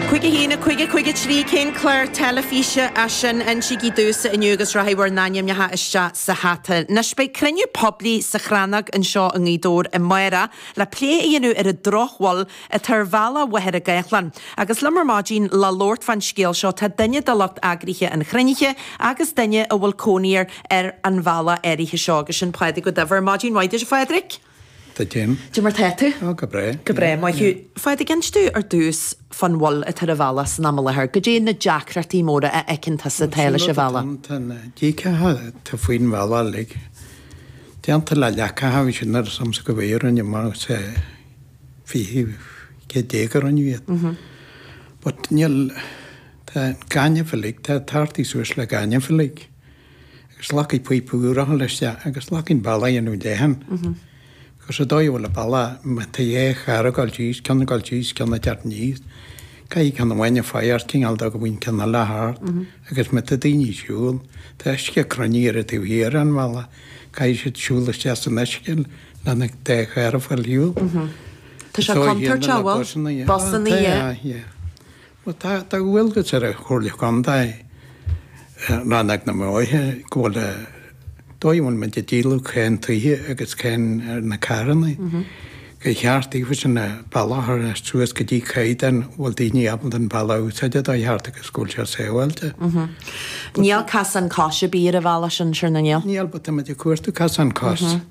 5 1 5 5 3 Cén clár teilifíse é sin? Insígí domhsa inniu agus rachaidh bhur n-ainmneacha isteach sa hata. Anois beidh cruinniú poiblí sa Chrannóg anseo i nGaoth Dobhair amárach le plé a dhéanamh ar an drochbhail atá ar bhealach Mhachaire Gathlán. Agus liom ar maidin le labhairt fán scéal seo tá duine de lucht eagraithe an chruinnithe agus duine a bhfuil cónaí air ar an bhealach áirithe seo agus sin Pádraig Ó Duibhir. Maidin mhaith duit a Phádraig. Duit féin. Cad é mar tá tú? Ó, go breá. Go breá, maith thú. Phádraig, inis domh ar dtús fán bhail atá ar an bhealach san am i láthair. Goidé na deacrachtaí móra a fheiceann tusa atá leis an bhealach? Tá na díceacha atá faoin bhealach uilig déanta le leacacha, bhí siad nuair is ionsa go bhféadh rinne mar sa 20 céad déag a rinneadh iad. But níl, tá gaineamh uilig, tá tartaí suas le gaineamh uilig. Agus leacaigh píopa úr a dhul isteach agus leacaigh an bealach a dhéanamh leathan. Because an dóigh a bhfuil an bealach, má tá dhá charr ag dul síos, ceann ag dul síos, ceann ag teacht aníos, caithfidh ceann amháin faire cineál de go mbíonn ceann eile thart agus má tá daoine ag siúl, tá uisce cruinnithe ar an taobh thiar den bhealach, caithfidh siad siúl isteach san uisce lena dá charr a fáil ar shiúl. Tá sé contúirteach, bhfuil? Busanna, yeah. Bhuel, tá dualgas ar an Chomhairle Contae, Rannóg na mBóithre, go bhfuil an dóigh a bhfuil muid ag díol cáin tithe agus cáin ar na carranna, gur cheart daofa an bealach a chur suas go dtí caighdeán a bhfuil daoine ábalta an bealach a úsáid an dóigh cheart agus go bhfuil sé sábháilte. Níl casán cois ar bith ar an bhealach sin, sure ná níl? Níl, but tá muid ag cuartú casán cos.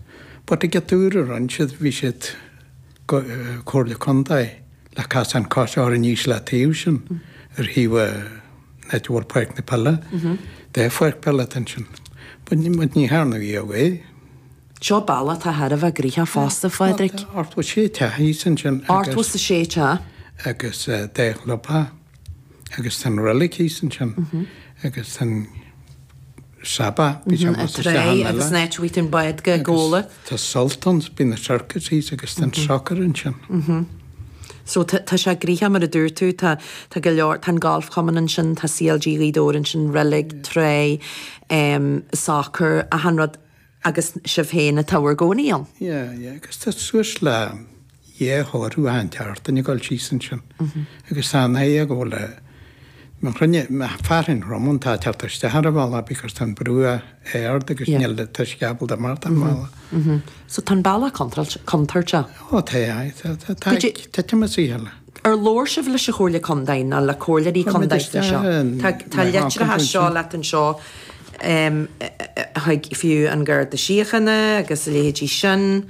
But ag an uair a rinne siad, bhí siad, Comhairle Contae, le casán cos a chur aníos le taobh sin ar thaobh an áit a bhfuil páirc na peile. Dá pháirc peile atá ansin. But ní thearnadh riamh é. Seo bealach atá thar a bheith gnoitheach fosta, a Phádraig. Tá 86 teach thíos ansin agus. 86 teach. Agus dá chlubtheach. Agus tá an reilig thíos ansin. Agus tá an. Sabbath, bhí sé amuigh sa teach an eile. Agus an áit a bhfaighidh tú an bád go Gabhla. Tá Sultans, bíonn na circus thíos agus tá an soccer ansin. So tá sé gnoitheach mar a dúirt tú, tá tá go leor, tá an Golfchumann ansin, tá CLG Ghaoth Dobhair ansin, reilig, tráigh, soccer, achan rud agus sibh féin atá bhur gcónaí ann. Yeah, yeah, agus tá suas le dhá chomhartha achan tseachtain ag dul síos ansin agus tá an fhaidhm go bhfuil a mo chruinne, mo fearthainn throm an tá teacht isteach ar an bhealach because tá an brú ard agus níl an t-uisce ábalta imeacht an bhealach. So tá an bealach contúirteach. Ó tá, aye, tá, tá, tá titim as a chéile. Ar labhair sibh leis an Chomhairle Contae nó le comhairleoirí contae faoi seo? Tá tá litreacha seo leat anseo chuig fiú an Garda Síochána agus a leithéidí sin.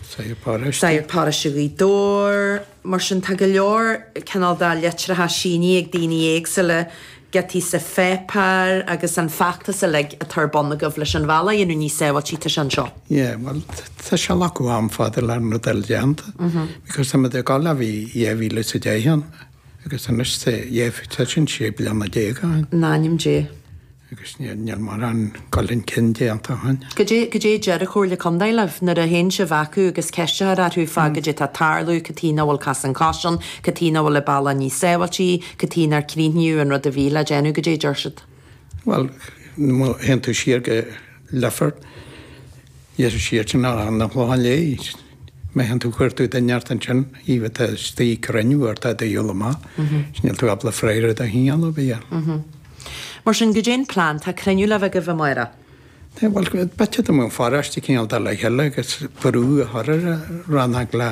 Sagart Paróiste. Sagart Paróiste Ghaoth Dobhair. Mar sin tá go leor cineál de litreacha sínithe ag daoine éagsúla, giotaí sa pháipéar agus an feachtas uilig atá ar bun agaibh leis an bhealach a dhéanamh níos sábháilte, tá sé anseo. Yeah, bhuel tá sé glacadh am fada le an rud eile déanta because tá muid ag dul ó bhí 2010 ann agus anois tá tá sin 16 bliana ó shin. In ainm Dé. Agus níl mórán dul chun cinn déanta ó shin. Goidé, goidé a deir an Chomhairle Contae libh nuair a théann sibh acu agus ceist a chur orthu fá goidé atá ag tarlú, cad chuige nach bhfuil casán cois ann, cad chuige nach bhfuil an bealach níos sábháiltí, cad chuige nár críochnaíodh an rud a bhí le déanamh, goidé a deir siad? Bhuel, má théann tú siar go Leifear, dheis siar sin an Clochán Léith, má théann tú cuartú duine ort ansin, iad atá istigh ag cruinniú ort a dhul amach, níl tú ábalta freagra de chineál ar bith a fháil. Mar sin, goidé an plean? Tá cruinniú le bheith agaibh amáireach. Tá, bhuel, b'fhéidir dá mbeadh an pharóiste cineál dul le chéile agus brú a chur ar an rannóg le.